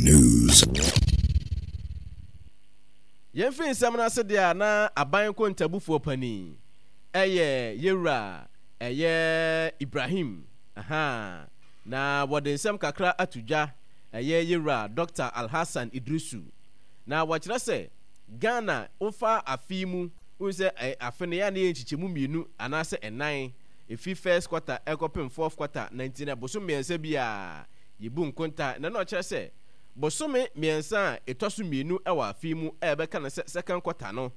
News. Yɛmfiri nsɛm no ase deɛ a na aban nkontabufoɔ panin ɛyɛ yɛwura ɛyɛ Ibrahim ahaa na wɔde nsɛm kakra ato dwa ɛyɛ yɛwura Dɔkta Alhassan Iddrisu na wɔkyerɛ sɛ Ghana wofa afe yi mu wohu sɛ afe no yɛ a na yɛ nkyekyɛmu mmienu anaasɛ ɛnan ɛfiri first quarter ɛkɔpem fourth quarter na nti na bosom mmiɛnsa biara yɛbu nkonta na na ɔkyerɛ sɛ bosome mmiɛnsa a ɛtɔ so mmienu wɔ afe yi mu a yɛbɛka no sɛ second quarter no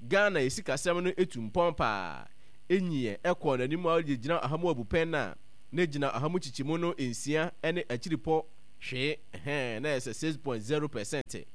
Ghana yɛ sikasɛm no tu mpɔn paa ɛnyiɛ ɛkɔɔ n'anim a ɔde gyina ɔha mu abupɛn no a na gyina ɔha mu kyekyɛmu no nsia ne akyiripɔ hwee ɛhɛn na ɛyɛ sɛ 6.0%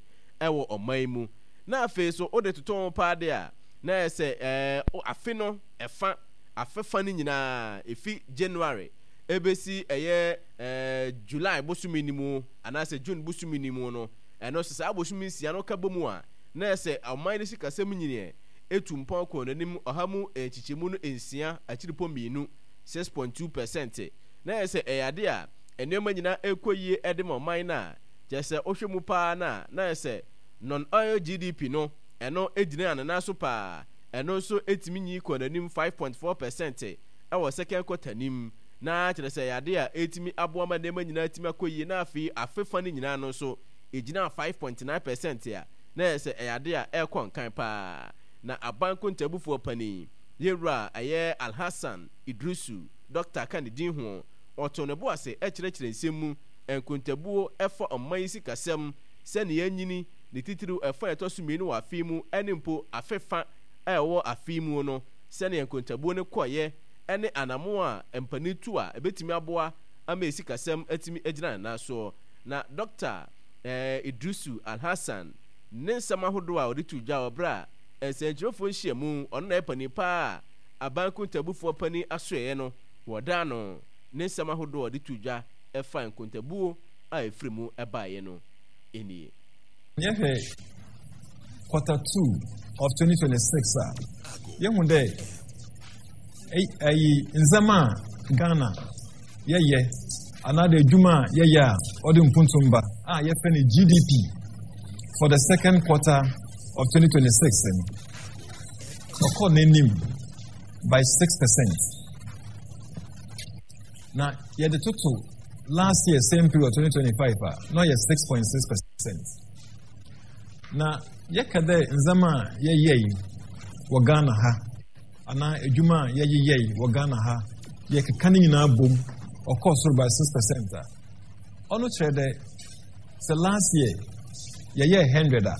ɛwɔ ɔman yi mu na afei so wode toto ho paa de a na ɛyɛ sɛ ɛɛ afe no ɛfa afe fa no nyinaa ɛfi January ɛbɛsi ɛyɛ ɛɛ July bosome no mu anaasɛ June bosome no mu no ɛno sɛ saa bosome nsia no ka bɔ mu a na ɛyɛ sɛ ɔman no sikasɛm nyiniɛ ɛtu mpɔn kɔɔ n'anim ɔha mu nkyekyɛmu no nsia akyiripɔ mmienu, 6.2%, na ɛyɛ sɛ ɛyɛ ade a nneɛma nyinaa ɛrekɔ yie de ma ɔman no a kyerɛ sɛ wohwɛ mu paa no a na ɛyɛ sɛ non-oil GDP no ɛno gyinaa ne nan so paa ɛno nso ɛtumi nyi kɔɔ n'anim 5.4% ɛwɔ second quarter no mu na kyerɛ sɛ ɛyɛ ade a ɛretumi aboa ma nneɛma nyinaa atumi akɔ yie na afei afe fa no nyinaa no nso ɛgyinaa 5.9% a na ɛyɛ sɛ ɛyɛ ade a ɛrekɔ nkan paa. Na aban nkontabufoɔ panin, yɛn wura a ɛyɛ Alhassan Iddrisu, Dɔkta ka ne din ho, ɔtoo ne bo ase kyerɛkyerɛ nsɛm mu, nkontabuo ɛfa ɔman yi sikasɛm, sɛnea anyini, ne titiriw ɛfa a ɛtɔ so mmienu wɔ afe yi mu ne mpo afe fa a ɛwɔ afe yi mu no, sɛnea nkontabuo no kɔeɛ ne anammɔn a mpanin tu a ɛbɛtumi aboa ama yɛn sikasɛm atumi agyina ne nan soɔ. Na Dɔkta Iddrisu Alhassan ne nsɛm ahodoɔ a ɔde too dwa wɔ berɛ a nsɛnkyerɛwfoɔ nhyiamu, ɔno na ɛyɛ panin pa ara aban nkontabufoɔ panin asoɛeɛ no, wɔdaa no ne nsɛm ahodoɔ a ɔde too dwa ɛfa nkontabuo a ɛfiri mu baeɛ no nie. Yɛhwɛ quarter two of 2026 a, yɛhu dɛ ɛyi ndzɛmba a Ghana yɛyɛ anaadɛ edwuma a yɛyɛ a ɔde mpontum ba a yɛfrɛ no GDP for the second quarter of 2026 no, ɔkɔɔ n'anim by 6%. Na yɛde toto last year same period 2025 a, na ɔyɛ 6.6%. Na yɛka dɛ ndzɛmba a yɛyɛe wɔ Ghana ha anaa edwuma a yɛyeyɛe wɔ Ghana ha, yɛkeka ne nyinaa bom, ɔkɔɔ sor by 6% a, ɔno kyerɛ dɛ sɛ last year yɛyɛɛ 100 a,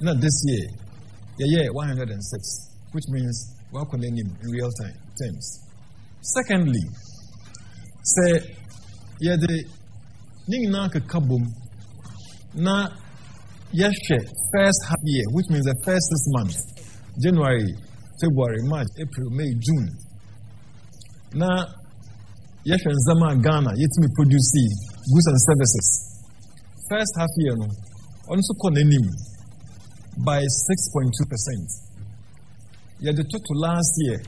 na this year yɛyɛɛ 106, which means wakɔ n'anim in real time terms. Secondly, sɛ yɛde ne nyinaa keka bom na yɛhwɛ first half year, which means the first 6 months, January, February, March, April, May, June, na yɛhwɛ ndzɛmba a Ghana yɛtumi produce, goods and services, first half year no, ɔno nso kɔ n'anim by 6.2%. Yɛde toto last year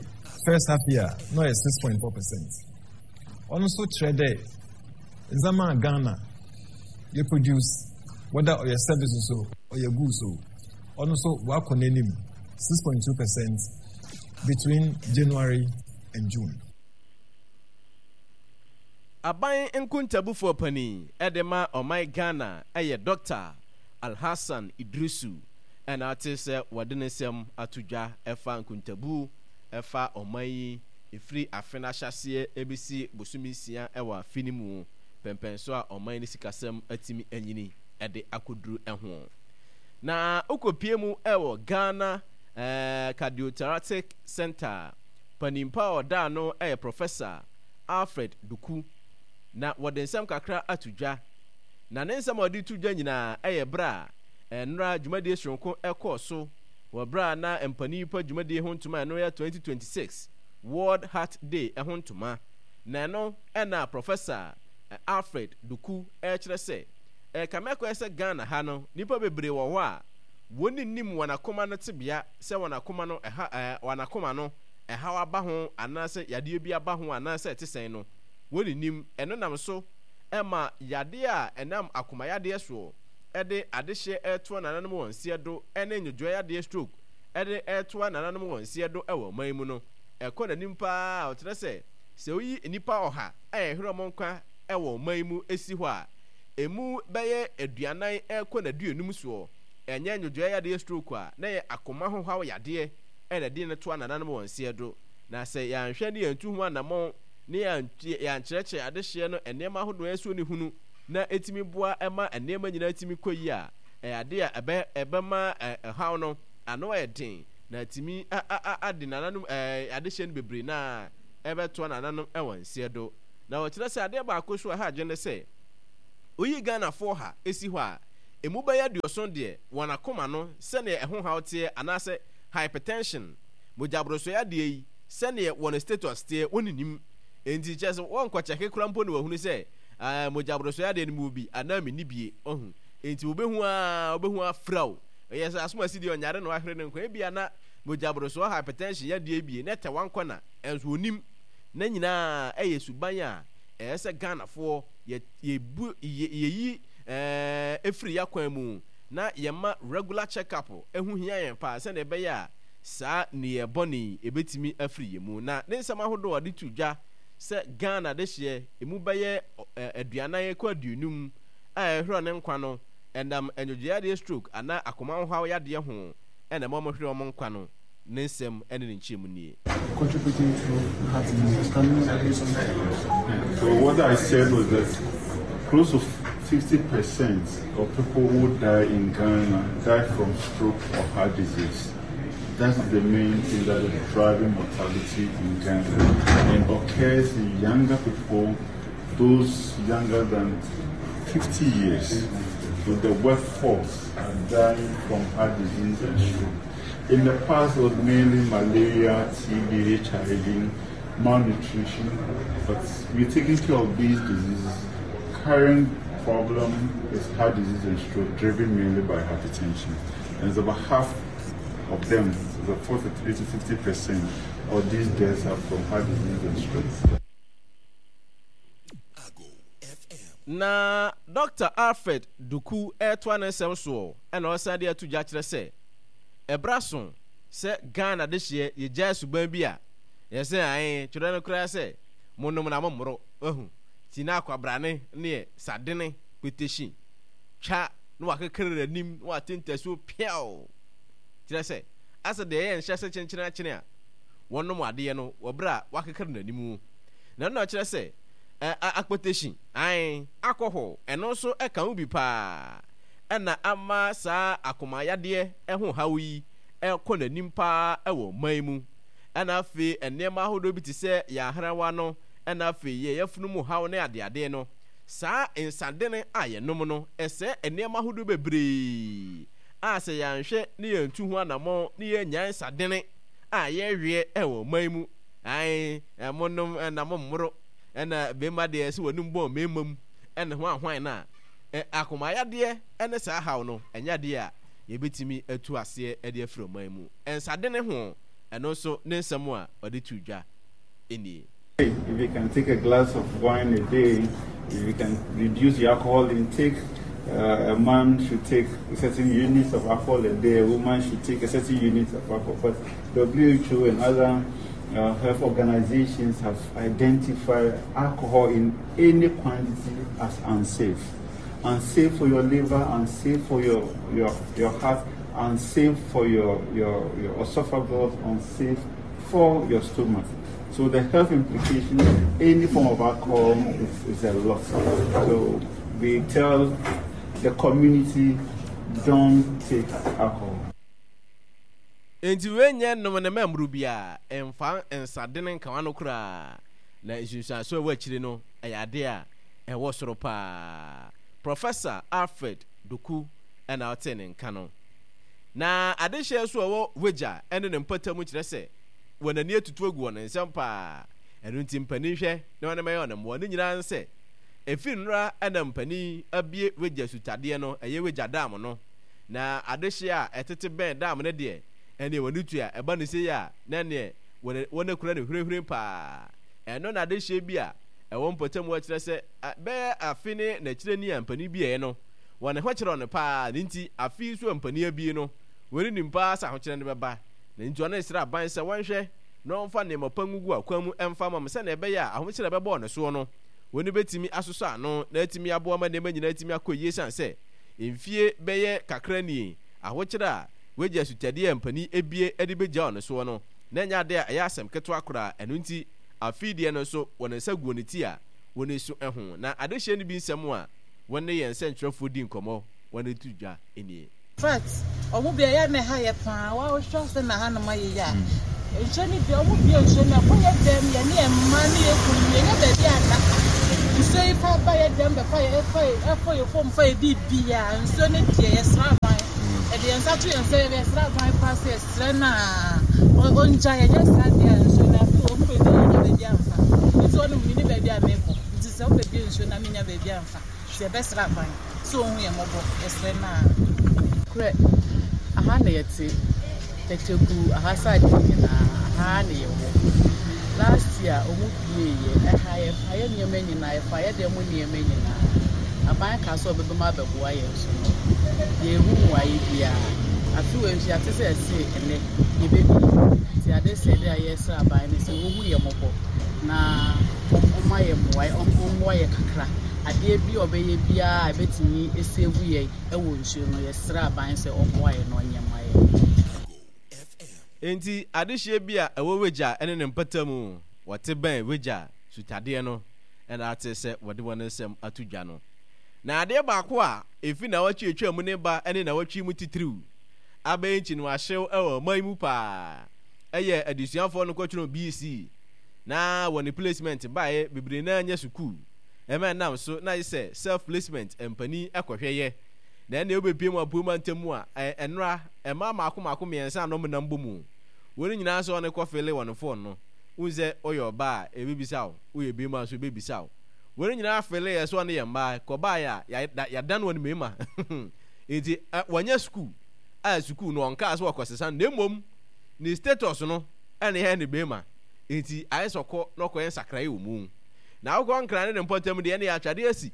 first half year na ɔyɛ 6.4%. Ɔno nso kyerɛ dɛ ndzɛmba a Ghana yɛ produce, whether ɔyɛ services o, ɔyɛ goods o, ɔno nso wakɔ n'anim 6.2% between January and June. Aban nkontabufoɔ panin de ma ɔman Ghana yɛ Dɔkta Alhassan Iddrisu na ate sɛ wɔde ne nsɛm ato dwa ɛfa nkontabuo ɛfa ɔman yi ɛfiri afe no ahyɛaseɛ ɛbɛsi bosome nsia wɔ afe no mu pɛmpɛnso a ɔman no sikasɛm atumi anyini de akɔduru ho. Na wokɔpie mu wɔ Ghana Cardiothoracic Centre panin pa a ɔda ano yɛ Professor Alfred Duku. Na wɔde nsɛm kakra ato dwa. Na ne nsɛm a ɔde to dwa nyinaa yɛ berɛ a nnora dwumadie soronko kɔɔ so wɔ berɛ a na mpanin pa dwumadie ho ntoma a ɛno yɛ 2026 World Heart Day ho ntoma. Na ɛno na Professor Alfred Duku rekyerɛ sɛ ɛrekame akɔyɛ sɛ Ghana ha no nnipa bebree wɔ hɔ a wɔn nnim wɔn akoma no tebea sɛ wɔn akoma no ɛha ɛɛ wɔn akoma no ɛhaw aba ho anaasɛ yadeɛ bi aba ho anaasɛ ɛte sɛn no wɔn nnim. Ɛno nam so ma yadeɛ a ɛnam akoma yadeɛ soɔ de adehyeɛ retoa nananom wɔn nseɛ do ne nnwodwoɛ yadeɛ stroke de retoa nananom wɔn nseɛ do wɔ ɔman yi mu no, ɛkɔ n'anim pa ara a ɔkyerɛ sɛ, sɛ woyi nnipa ɔha a ɛhwere wɔn nkwa wɔ ɔman yi mu si hɔ a, ɛmu bɛyɛ 40 rekɔ n'aduonum soɔ, ɛnyɛ nnwodwoɛ yadeɛ stroke a na ɛyɛ akoma ho haw yadeɛ na ɛde no toa nananom wɔn nseɛ do. Na sɛ yɛanhwɛ ne yɛantu ho anammɔn ne yɛankyerɛkyerɛ adehyeɛ no nneɛma ahodoɔ a ɛsɛ sɛ ɔhunu na ɛtumi boa ma nneɛma nyinaa tumi kɔ yie a, ɛyɛ adeɛ a ɛbɛ ɛbɛma ɛhaw no ano ayɛ den na atumi ade nananom adehyeɛ no bebree no ara ɛbɛtoa nananom wɔ nseɛ do. Na wɔkyerɛ sɛ adeɛ baako nso a ɛha adwene ne sɛ, woyi Ghanafoɔ ha si hɔ a, ɛmu bɛyɛ aduɔson deɛ wɔn akoma no sɛdeɛ ɛho haw teɛ anaasɛ hypertension, mogyaborosoɛ adeɛ yi, sɛdeɛ wɔn status teɛ wɔnnim. Enti kyerɛ sɛ wɔnkɔ kyɛke koraa mpo na wɔahunu sɛ ah, mogyaborosoɛ adeɛ no mewɔ bi anaa menni bie. Wahu? Enti wɔbɛhu ara, wɔbɛhu afira wo. Ɛyɛ sɛ asomasi deɛ ɔnyare na wahwere ne nkwa. Ebia na mogyaborosoɔ hypertension yadeɛ bie na ɛtɛ wankɔ na ɛnso ɔnim. Ne nyinaa ɛyɛ suban a ɛyɛ sɛ Ghanafoɔ yɛ, yɛbu, yɛ, yɛyi ɛɛ, ɛfiri yɛakwan mu na yɛma regular check up ɛho hia yɛn paa sɛdeɛ ɛbɛyɛ a saa nneyɛɛ bɔne yi ɛbɛtumi afiri yɛn mu. Na ne nsɛm ahodoɔ a ɔde to dwa sɛ Ghana dehyeɛ ɛmu bɛyɛ 40 kɔ 50 a ɛhwerɛ ne nkwa no ɛnam nnwodwoyadeɛ stroke anaa akoma ho haw yadeɛ ho na ɛma wɔhwere wɔn nkwa no, ne nsɛm ne ne nkyerɛmu nie. Contributing to heart disease. Can you add something? So what I said was that close to 50% of people who die in Ghana die from stroke or heart disease. That's the main thing that is driving mortality in Ghana and occurs in younger people, those younger than 50 years. So the workforce are dying from heart disease and stroke. In the past, it was mainly malaria, TB, HIV, malnutrition, but we're taking care of these diseases. Current problem is heart disease and stroke, driven mainly by hypertension. And it's about half of them, so 43 to 50 percent of these deaths are from heart disease and stroke. Na Dɔkta Alfred Duku retoa ne nsɛm soɔ na ɔsan de ato dwa kyerɛ sɛ, ɛberɛ aso sɛ Ghana dehyeɛ yɛgyae suban bi a yɛsɛ ae twerɛ no koraa sɛ monom na mommoro, wahu, nti na akwabrane neɛ sadene petehyi twa na wakekere n'anim na wate ntasuo piaw kyerɛ sɛ asɛ deɛ ɛyɛ nhyɛ sɛ kyenkyene akyene a wɔnom adeɛ no wɔ berɛ a wakekere n'anim na ɛno na ɔkyerɛ sɛ ɛ akpetehyi ae alcohol ɛno nso ɛka ho bi paa ɛna ama saa akoma yadeɛ ɛho haw yi ɛkɔ n'anim paa ɛwɔ ɔman mu ɛna afei nneɛma ahodoɔ bi te sɛ yɛn ahrawa no ɛna afei yɛn yafunu mu haw ne adeade no. Saa nsadene a yɛnom no, ɛsɛe nneɛma ahodoɔ bebree a sɛ yɛanhwɛ ne yɛantu ho anammɔn ne yɛannyae nsadene a yɛweɛ wɔ ɔman mu. Ae, monom na mommoro, ɛna bemma deɛ sɛ w'anum bɔn mmarima mu ne ho ahwan no a, akomayadeɛ ne saa haw no, ɛnyɛ adeɛ a yɛbɛtumi atu aseɛ de afiri ɔman mu. Nsadene ho, ɛno nso ne nsɛm a ɔde too dwa nie. If you can take a glass of wine a day, if you can reduce your alcohol intake, uh, a man should take certain units of alcohol a day, a woman should take a certain unit of alcohol. But WHO and other uh, health organizations have identified alcohol in any quantity as unsafe. Unsafe for your liver, unsafe for your, your, your heart, unsafe for your, your, your esophagus, unsafe for your stomach. So the health implications of any form of alcohol is, is a lot. So we tell the community don't take alcohol. Enti wei nyɛ nom ne mɛmmoro biara, mfa nsadene nka w'ano koraa, na nsunsuanso a ɛwɔ akyire no yɛ adeɛ a ɛwɔ soro paa. Professor Alfred Doku na ɔtee ne nka no. Na adehyeɛ nso a ɛwɔ Wagya ne ne mpɔtam kyerɛ sɛ wɔn ani atutu agu wɔn nsam paa. Ɛno nti mpanin hwɛ na wɔn mɛyɛ wɔn mmoa. Ne nyinaa ne sɛ, ɛfiri nnora na mpanin abue Wagya sutadeɛ no, ɛyɛ Wagya dam no. Na adehyeɛ a ɛtete bɛn dam no deɛ, ɛnneɛ wɔn ani tua. Ɛba no sei a, na ɛnneɛ wɔn akura no hwirenhwiren paa. Ɛno na adehyeɛ bi a. ɛwɔ mpɔtam hɔ kyerɛ sɛ bɛyɛ afe ne n'akyire ni a mpanin bieɛ no, wɔn ho kyerɛw no paa, ne nti afe yi nso a mpanin abie no, wɔn nim paa sɛ ahokyerɛ no bɛba. Ne nti ɔne srɛ aban sɛ wɔnhwɛ na wɔmfa nneɛma pa ngugu akwan mu mfa mma mo sɛnea ɛbɛyɛ a ahokyerɛ a ɛbɛbɔ wɔn soɔ no, wɔn bɛtumi asosɔ ano na atumi aboa ma nneɛma nyinaa atumi akɔ yie esiane sɛ mfie bɛyɛ kakra nie ahokyerɛ a wɔagye asutadeɛ a mpanin abie de bɛgya wɔn soɔ no na ɛnyɛ adeɛ a ɛyɛ asɛm ketewa koraa. Ɛno nti afei deɛ no nso wɔn nsa gu wɔn ti a wɔn su ho. Na adehyeɛ no bi nsɛm a wɔne yɛn nsɛntwerɛfoɔ di nkɔmmɔ wɔn de to dwa nie. Fact, ɔmo bia ɛyɛ a na ɛha yɛ paa, wa wohwɛ sɛ na hanom ayɛ yi a, nsuo no bia ɔmo bia nsuo no ɛkɔ yɛ dɛm, yɛ ne yɛ mma ne yɛ kunu yɛ nya baabi anna, nsuo yi fa ba yɛ dɛm bɛfa yɛ ɛfa yɛ ɛfɔ yɛ fom fa yɛ biribiara, nsuo no deɛ yɛ srɛ aban, yɛde yɛn nsa to yɛn nsa yɛ srɛ aban paa sɛ yɛ srɛ no a ɔngya yɛ nyɛ saa deɛ a nsuo no afei ɔmo baabi a yɛnya baabi amfa, nti ɔnom menni baabi a mekɔ, nti sɛ ɔmo bɛbie nsuo no a menya baabi amfa, nti yɛbɛsrɛ aban. Sɛ ɔhu yɛn mmɔbɔ, yɛsrɛ no a. Nokorɛ, aha na yɛte, Tɛkyɛku aha side yi nyinaa, aha ara na yɛwɔ. Last year ɔmo bieeɛ, ɛha yɛfa yɛ nneɛma nyinaa, yɛfa yɛ dan mu nneɛma nyinaa. Aban kaa sɛ ɔbɛba mu abɛboa yɛn nso no, yɛnhu mmuaeɛ biara. Afe wei nso yɛate sɛ ɛse ɛnnɛ yɛbɛbie. Nti adesrɛdeɛ a yɛresrɛ aban ne sɛ ɔnhu yɛn mmɔbɔ na ɔmma yɛn mmuaeɛ, ɔmmoa yɛn kakra. Adeɛ bi a ɔbɛyɛ biara a ɛbɛtumi ɛsave yɛn wɔ nsuo no, yɛsrɛ aban sɛ ɔmmoa yɛn na ɔnyɛ mma yɛn. Enti adehyeɛ bi a ɛwɔ Wagya ne ne mpɔtam wɔte bɛn Wagya sutadeɛ no na ate sɛ wɔde wɔn nsɛm ato dwa no. Na adeɛ baako a ɛfi nnawɔtwe a ɛtwaa mu ne ba ne nnawɔtwe yi mu titiriw abɛyɛ nkyiniwahyew wɔ ɔman yi mu paa yɛ adesuafoɔ no kɔtwerɛ BC na wɔn placement baeɛ bebree no ara nyɛ sukuu Ɛma ɛnam so na ayɛ sɛ self placement mpanin kɔhwɛ yɛ. Na ɛnneɛ wobɛpue mu apuei mantam mu a, ɛ, ɛnora, mmaa mmaako mmaako mmiɛnsa a na wɔnam bɔ mu. Wɔn nyinaa sɛ wɔn kɔ fele wɔn phone no. Wohu sɛ woyɛ ɔbaa a, ɛbɛbisa wo. Woyɛ barima nso, ɛbɛbisa wo. Wɔn nyinaa fele yɛ sɛ wɔn yɛ mmaa. Kɔbaeɛ a, yɛ, da, yɛadan wɔn mmarima. Enti, ɛ, wɔnyɛ sukuu. A sukuu no, wɔnkaa sɛ wɔkɔsesa no, na mmom ne status no ɛna yɛyɛ no barima. Enti, ayɛ sɛ ɔkɔ na ɔkɔyɛ nsakraeɛ wɔ mu. Na wokɔ Nkran ne ne mpɔtam deɛ, ɛnneɛ atwadeɛ asi.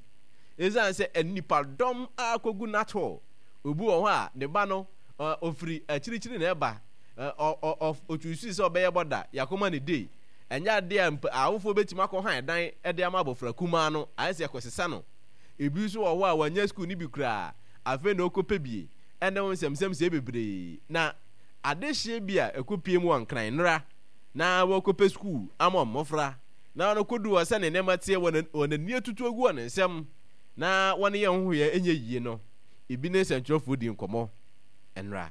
Esiane sɛ nnipadɔm akɔgu Nat Hall, obi wɔ hɔ a ne ba no, ɔfiri akyirikyiri na ɛba, ɔchuusui sɛ ɔbɛyɛ bɔda, yɛakɔma no day. Ɛnyɛ adeɛ a mpo awofoɔ bɛtumi akɔ han dan de ama abɔfra kumaa no, ayɛ sɛ yɛkɔsesa no. Ebi nso wɔ hɔ a wannya sukuu no bi koraa, afei na ɔrekɔpɛ bie, ɛne ho nsɛmnsɛm sei bebree. Na adehyeɛ bi a ɛkɔpue mu wɔ Nkran nnora na wɔrekɔpɛ sukuu ama mmɔfra. Na ɔno kodu hɔ sɛnea nneɛma teɛ, wɔn wɔn ani atutu agu wɔn nsam, na wɔn yɛn nhohoeɛ nyɛ yie no, ebi ne nsɛntwerɛfoɔ dii nkɔmmɔ nnora.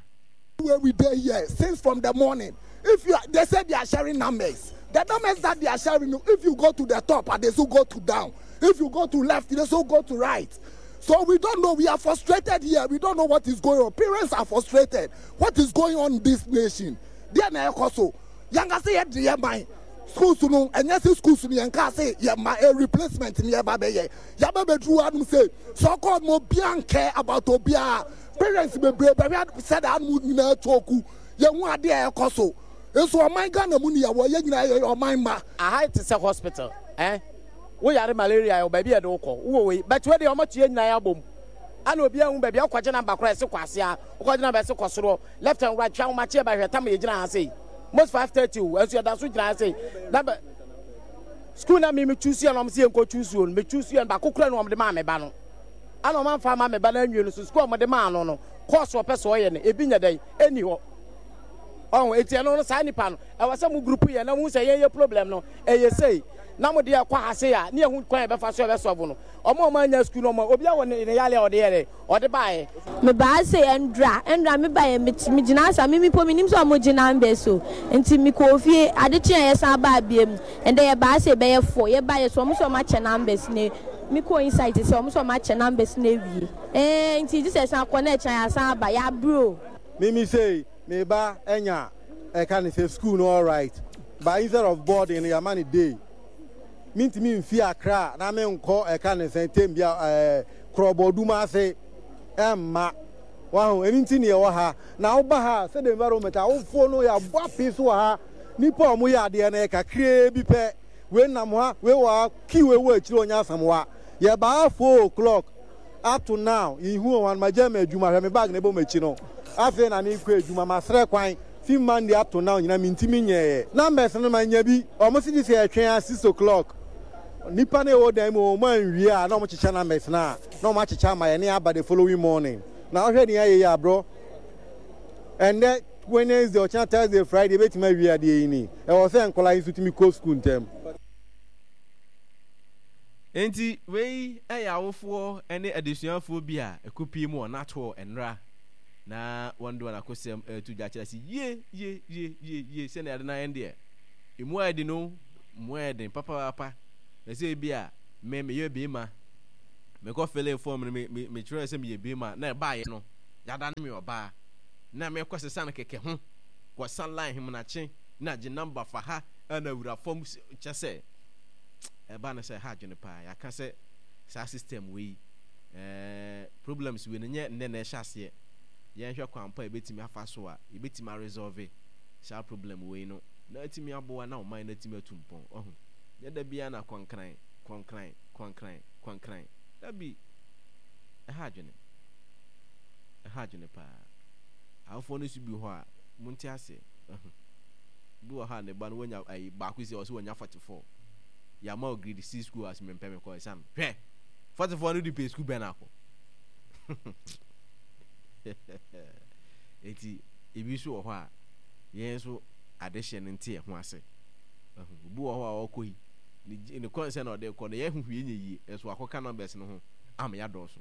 Where we dey here since from the morning if you are they say they are sharing numbers the numbers that they are sharing if you go to the top and they still go to down if you go to left they still go to right so we don't know we are frustrated here we don't know what is going on parents are frustrated what is going on in this nation deɛ na ɛkɔ so Yɛnka sɛ yɛde yɛ man schools no, ɛnyɛ sɛ schools no yɛnka sɛ yɛ ma a replacement ne yɛba bɛyɛ. Yɛaba bɛduru hanom sɛ so called mo obiara nkɛ about obiara. Parents bebree bɛhwɛ sɛ da hanom nyinaa choku. Yɛhu adeɛ a ɛkɔ so. Nso ɔman Ghana mu ne yɛwɔ, yɛn nyinaa yɛyɛ ɔman mma. Aha te sɛ hospital eh wo yare malaria yɛwɔ baabi a yɛde wo kɔ wowɔ wei but wei deɛ wɔn ato yɛn nyinaa abom ana obiara nhu baabi a wokɔgye number koraa yɛse kɔ ase a wokɔgye number yɛse kɔ soro Left and right twa ahomakye ɛba hwɛ tam yɛgyina ha sei most 5:30 o ɛnso yɛda so gyina ha sei na bɛ school na me me choose yɛ na wɔn si yɛn kɔ choose o me choose yɛ baako kura na wɔn de maa me ba no ana wɔn anfa ama me ba no anwie no so school a wɔn de maa no no course wɔpɛ so ɔyɛ no ebi nyɛ dɛn ɛni hɔ ɔho eti ɛno no saa nipa no ɛwɔ sɛ mo group yɛ na mo sɛ yɛn yɛ problem no ɛyɛ sei na mo deɛ ɛkɔ ha sei a ne yɛ ho kwan yɛ bɛfa so yɛ bɛ solve no wɔn a wɔn anya school no wɔn obi a wɔ ne ne yale a ɔde yɛ dɛ Ɔde baeɛ. Mebaa sei ɛndra ɛndra mebaeɛ met megyinaa sa me mpo menim sɛ ɔmo gye numbers o nti mekɔɔ fie ade kyeeɛ yɛsan baa biom ɛndɛ yɛbaa sei bɛyɛ four yɛbaeɛ so ɔmo sɛ ɔmo akyɛ numbers no mekɔɔ inside sɛ ɔmo sɛ ɔmo akyɛ numbers no awie ɛɛ nti gyesɛ yɛsan kɔ na ɛkyena yɛasan aba yɛabrɛ o. Mimi sei me ba anya ɛka ne sɛ school no alright but instead of boarding no yɛama no day. Mentumi mfi Accra na menkɔ ɛka ne sɛn tem bia ɛɛ Krɔbɔdum ase ɛmma. Wahu, ɛno nti ne yɛwɔ ha. Na woba ha a, sɛdeɛ environment awofoɔ no yɛabɔ apee so wɔ ha. Nnipa a wɔyɛ adeɛ no yɛ kakraa bi pɛ. Wei nam ha, wei wɔ ha, queue wei wɔ akyire ɔnyɛ Asamoah. Yɛbaa ha 4:00 up to now yɛnhu wɔn ano. Magyae m'adwuma, hwɛ me bag na ɛbɔ m'akyi no. Afei na merekɔ adwuma, masrɛ kwan fi Monday up to now nyinaa mentumi nyɛeɛ. Numbers no manya bi, wɔn se gye sɛ yɛtwɛn ara 6:00. Nnipa no a ɛwɔ dan mu hɔ wɔn anwie a na wɔkyekyɛ numbers no a na wɔakyekyɛ ama yɛn na yɛaba the following morning. Na wohwɛ nea ayɛ yi a bro, ɛnnɛ Wednesday, ɔkyena Thursday, Friday yɛbɛtumi awie adeɛ yi ni. Ɛwɔ sɛ nkwadaa yi nso tumi kɔ sukuu ntɛm. Enti wei yɛ awofoɔ ne adesuafoɔ bi a ɛkɔpie mu wɔ Natoɔ nnora na wɔn de wɔn akosɛm reto dwa kyerɛ sɛ yie yie yie yie yie sɛnea ade no ayɛ no deɛ emu ayɛ den o emu ayɛ den papaapa na sɛ ebi a me meyɛ beema mekɔ fill form no me me mekyerɛ sɛ meyɛ beema na ɛbaayɛ no yada ne me ɔbaa na mekɔ sesa no kɛkɛ ho kɔ sa line hemenakye na gye number fa ha na wura fam kyɛ sɛ ɛba no sɛ ɛha adwene paa yɛaka sɛ saa system wei eh, problems wei no nyɛ nnɛ na ɛhyɛ aseɛ yɛnhwɛ kwan pa yɛbɛtumi afa so a yɛbɛtumi aresolve saa problem wei no na atumi aboa na ɔman no atumi atu mpɔn ɔho nyɛ da biara na kɔnkran kɔnkran kɔnkran kɔnkran dabi ɛha adwene ɛha adwene paa awofoɔ no nso bi hɔ a monte aseɛ ɛho Bi wɔ hɔ a ne ba no wanya ayi baako si ɔsɛ wanya 44. Yɛama wo grade C school ase mempɛ mekɔ ɛsan. Hwɛ! 44 no de pɛ school bɛn akɔ. Enti ebi nso wɔ hɔ a yɛn nso adehyɛ no nte yɛn ho ase. Obi wɔ hɔ a ɔkɔ yi ne ne kɔnsɛn na ɔde kɔ no yɛ huhu yɛ nyɛ yie nso akɔka numbers no ho ama yɛadɔɔso.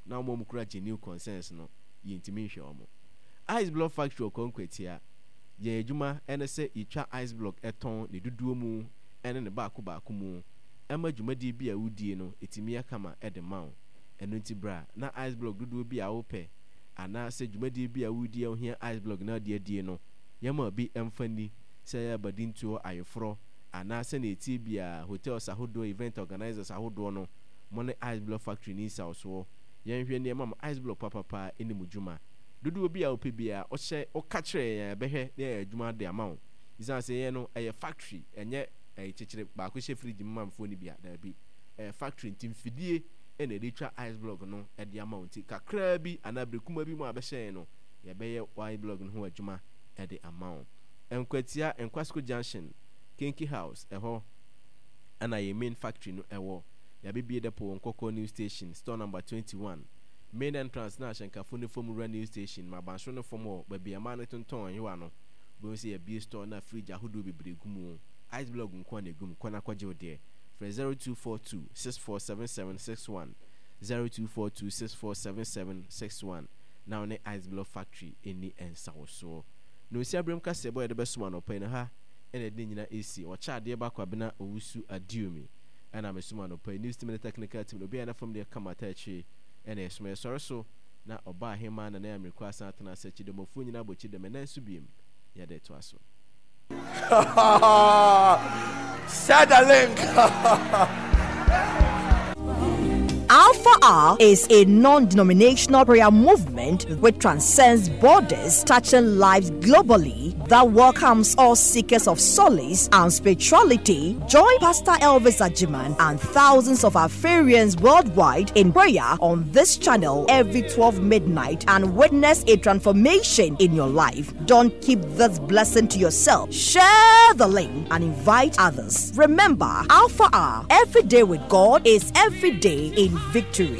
Na wɔn a wɔkura genuine concerns no yɛntumi nhwɛ wɔn. Ice Block Factory wɔ Kwankwatia. Yɛn adwuma ne sɛ yɛtwa ice block tɔn ne dodoɔ mu ne ne baako baako mu ma dwumadie bi a wodie no ɛtumi yɛ kama de ma wo. Ɛno nti bra na ice block dodoɔ bi a wopɛ anaa sɛ dwumadie bi a wodie a wohia ice block na wode adie no, yɛma obi mfa nni, sɛ ɛyɛ abadintoɔ, ayeforɔ, anaa sɛdeɛ ɛteɛ biara, hotels ahodoɔ, event organisers ahodoɔ no, mo ne Ice Block Factory nni nsawɔsoɔ. Yɛnhwɛ nneɛma ma ice block papapa nni mo dwuma. Dodoɔ bi a wopɛ biara, wohyɛ, woka kyerɛ yɛn a yɛbɛhwɛ na yɛayɛ adwuma de ama wo. Esiane sɛ yɛn no, ɛyɛ factory, ɛnyɛ ɛyi kyekyere baako hyɛ fridge mu ma mfoɔ no bi a, daabi. Ɛyɛ factory nti mfidie na yɛde twa ice block no de ama wo nti kakraa bi anaa bere kumaa bi mu a bɛhyɛ yɛn no, yɛbɛyɛ wo ice block no ho adwuma de ama wo. Nkwatia, Nkwasco Junction, Kenki House, ɛhɔ na yɛn main factory no wɔ. Yɛabɛbue depot wɔ Nkɔkɔɔ New Station, store number 21. Main entrance no a ahyɛnkafo no fa mu wura New Station ma abansoro no fam hɔ, baabi a mmaa no tontɔn nyowa no, wubehu sɛ yɛabue store no a fridge ahodoɔ bebree gu mu. Ice block nko ara na egu mu. Kɔ na kɔgye wo deɛ. Frɛ 0242 647761, 0242 647761, na wo ne Ice Block Factory nni nsawosoɔ. Nonsia berem kaseɛbɔ a yɛde bɛsom anɔpa yi no, ha na yɛde ne nyinaa resi. Ɔkyɛ adeɛ ba Kwabena Owusu Aduomi na mesom anɔpa yi. News team ne technical team no, obiara yɛ n'afam deɛ kama taa akyire. Ɛna ɛsom ɛsɔre so na ɔba ahemaa Nana Amirkwa asan atena ase akyidɔmɔfoɔ nyinaa bɔ kyidɔm ɛnɛ nso biem yɛde toa so. Share the link. Alpha R is a non denominational prayer movement which transcends borders, touching lives globally, that welcomes all seekers of solace and spirituality. Join Pastor Elvis Ajiman and thousands of Alpharians worldwide in prayer on this channel every 12 midnight and witness a transformation in your life. Don't keep this blessing to yourself. Share the link and invite others. Remember, Alpha R, every day with God is every day in victory.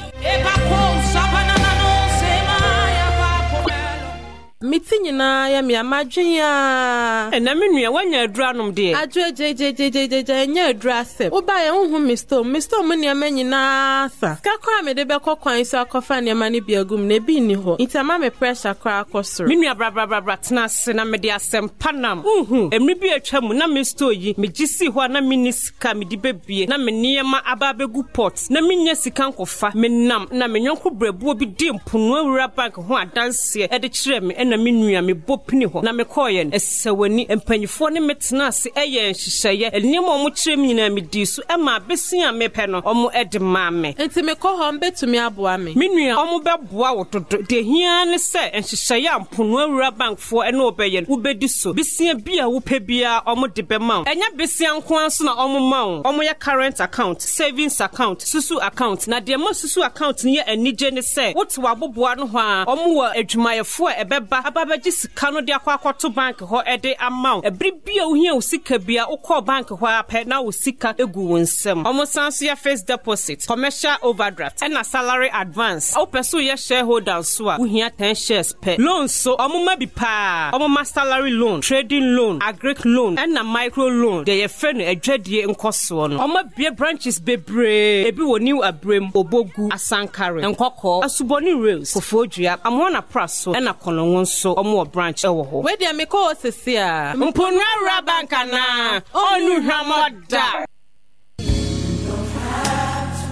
Me ti nyinaa yɛ me a, madwen aa. Ɛnɛ me nua, woanya aduru anom deɛ? Adwo gyegyeegyegya, ɛnyɛ aduru asɛm. Wobaeɛ wonhu me store mu, me store mu nneɛma nyinaa asa. Sika koraa a mede bɛkɔ kwan so akɔfa nneɛma no bi agu mu no, ebi nni hɔ. Nti ama me pressure koraa akɔ soro. Me nua bra bra bra bra tena ase na mede asɛm pa nam. Wonhu, mmere bi a atwa mu na me store yi, megye sii hɔ a na menni sika a mede bɛbue na me nneɛma aba abɛgu pot na mennya sika nkɔfa. Menam na me yɔnko brɛboɔ bi dii Mponoa Wura Bank ho adanseɛ de kyerɛɛ me ɛna me nua. nua, mebɔ pini hɔ na mekɔeɛ no, ɛsɛ w'ani. Mpanimfoɔ ne me tenaa ase yɛɛ nhyehyɛeɛ. Nneɛma a wɔkyerɛɛ me nyinaa, medii so. Ɛmaa bese a mepɛ no, wɔde maa me. Enti mekɔ hɔ a, wɔbɛtumi aboa me? Me nua, wɔbɛboa wo dodo. Deɛ ɛhia ara ne sɛ nhyehyɛeɛ a Mponoa Wura Bankfoɔ ne wo bɛyɛ no, wobɛdi so. Bosea bi a wopɛ biara, wɔde bɛma wo. Ɛnyɛ bosea nko ara nso na wɔma wo. Wɔyɛ current account, savings account, susu account. Na deɛ ɛma susu account no yɛ anigye ne sɛ, wote w'aboboa ano hɔ ara, wɔwɔ adwumayɛfoɔ a ɛbɛba aba abɛgye sika no de akɔ akɔto bank hɔ de ama wo. Ɛbere bi a wohia wo sika biara, wokɔɔ bank hɔ ara pɛ na wo sika gu wo nsam. Wɔsan nso yɛ fixed deposit, commercial overdraft, ɛna salary advance. Wopɛ sɛ woyɛ shareholder nso a, wohia ten shares pɛ. Loan nso, wɔma bi paa. Wɔma salary loan, trading loan, agric loan, ɛna micro loan, deɛ yɛfrɛ no adwadie nkɔsoɔ no. Wɔabue branches bebree, ebi wɔ New Abrem, Obogu, Asankare, Nkɔkɔɔ, Asubɔne Rails, Kofoɔdua, Amoana Praso, ɛna Kɔnɔngo nso wɔwɔ branch wɔ hɔ. Wei deɛ mekɔ hɔ sese a. Mponua Rural Bank anaa? Ɔnnu hwammɔ da!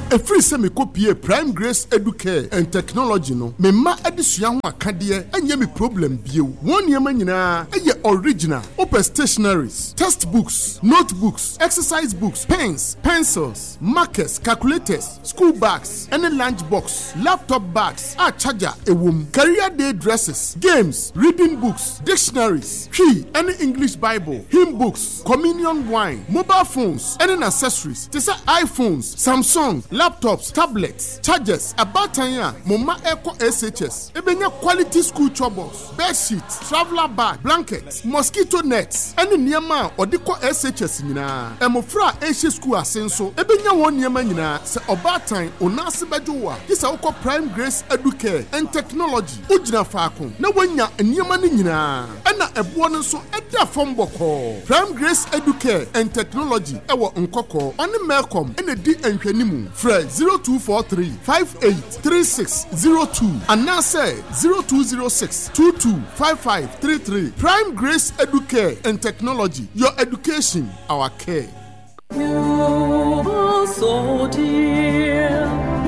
Ɛfiri sɛ mekɔpuee Prime Grace Educare and Technology no, me mma adesua ho akadeɛ nyɛ me problem bio. Wɔn nneɛma nyinaa yɛ original. Wopɛ stationaries, text books, notebooks, exercise books, pens, pencils, markers, calculators, school bags ne lunch box, laptop bags a charger wɔ mu, career day dresses, games, reading books, dictionaries, Twi ne English Bible, hymn books, communion wine, mobile phones ne n'accessories te sɛ iPhones, Samsung, laptops, tablets, chargers. Abaatan a mo mma rekɔ SHS benya quality school chobos, bed sheet, traveller bag, blanket, mosquito nets ne nneɛma a wɔde kɔ SHS nyinaa. Mmofra a ɛrehyɛ sukuu ase nso benya wɔn nneɛma nyinaa. Sɛ ɔbaatan, wo nan ase bɛdwo wo a, gye sɛ wokɔ Prime Grace Educare and Technology. Wogyina faako na woanya nneɛma no nyinaa, ɛna ɛboɔ no nso da fam bɔkɔɔ. Prime Grace Educare and Technology wɔ Nkɔkɔɔ, ɔne Melcom na ɛdi nhwɛnimu. Frɛ 0243 58 3602 anaasɛ 0206 22 5533. Prime Grace Educare and Technology, your education, our care.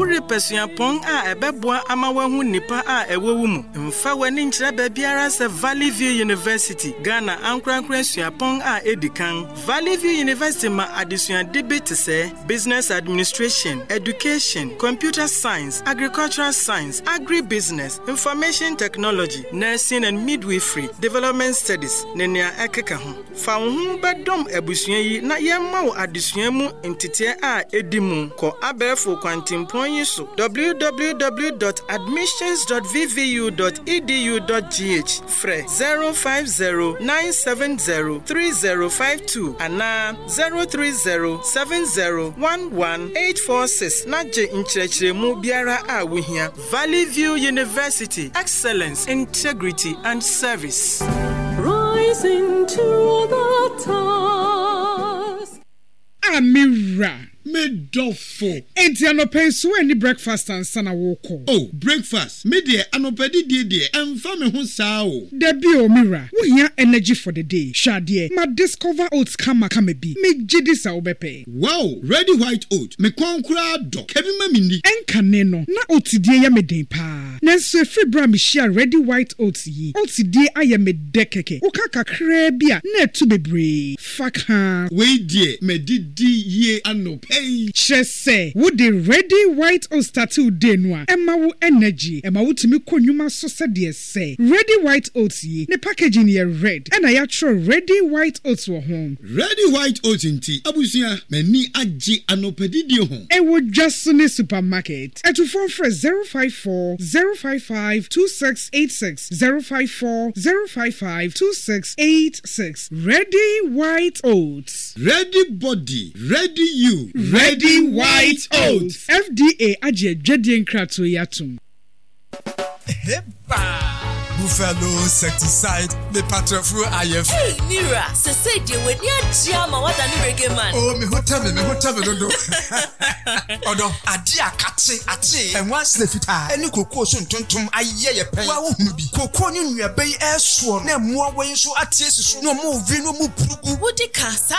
Worepɛ suapɔn a ɛbɛboa ama woahu nnipa a ɛwɔ wo mu? Mfa w'ani nkyerɛ baabiara sɛ Valley View University, Ghana ankorankore suapɔn a edi kan. Valley View University ma adesuade bi te sɛ Business Administration, Education, Computer Science, Agricultural Science, Agribusiness, Information Technology, Nursing and Midwifery, Development Studies, ne nea ɛkeka ho. Fa wo ho bɛdɔm abusua yi na yɛmma wo adesua mu nteteɛ a edi mu. Kɔ abɛɛfo kwantempɔn yi so www dot admissions dot vvu dot edu dot gh, frɛ 050 970 3052 anaa 030 70 11 846 na gye nkyerɛkyerɛmu biara a wuhia. Valley View University, excellence, integrity, and service. Rising to the task. Ah me wura. Me dɔfo. Enti anɔpa yi so woanni breakfast ansa na worekɔ? Oh, breakfast? Me deɛ anɔpa didie deɛ ɛmfa me ho saa o. Dabi o, me wura. Wohia energy for the day. Hwɛ adeɛ, ma discover oats kama kama bi. Megye di sɛ wobɛpɛ. Wow! Ready white oat, me kɔn koraa dɔ. Ka bi ma minni. Ɛnkane no, na oat die yɛ me den paa. Nanso ɛfiri berɛ a mehyiaa Ready White Oats yi, oats die ayɛ me dɛ kɛkɛ. Woka kakraa bi a, na atu bebree. Fa ka. Wei deɛ madidi yie anɔpa yi. Kyerɛ sɛ, wode Ready White Oats starte wo day no a, ɛma wo energy. Ɛma wotumi kɔ nnwuma so sɛdeɛ Sɛ Ready White Oats yi, ne packaging yɛ red ɛna yɛatwerɛ Ready White Oats wɔ ho. Ready White Oats nti, abusua, m'ani agye anɔpadidie ho. Ɛwɔ dwa so ne supermarket. Atufoɔ mfrɛ 054 055 2686, 054 055 2686. Ready White Oats. Ready body, ready you. Ready White Oats. FDA agye adwadie nkratoɔ yi atom. Buffalo insecticide me patrɔfo ayɛ fɛ. Hey Mira, sesei deɛ w'ani agye ama woadane reggae man. Oh me ho tɛ me, me ho tɛ me dodo. Ɔdɔ, ade a akate, ate, nwansena fitaa ne kokoo so ntontom ayɛ yɛ pɛn. Woa wohunu bi? Kokoo ne nnuaba yi ɛresoɔ no na mmoawa yi nso ate asi so na wɔrewe na wɔrepuru gu. Wodi ka, saa.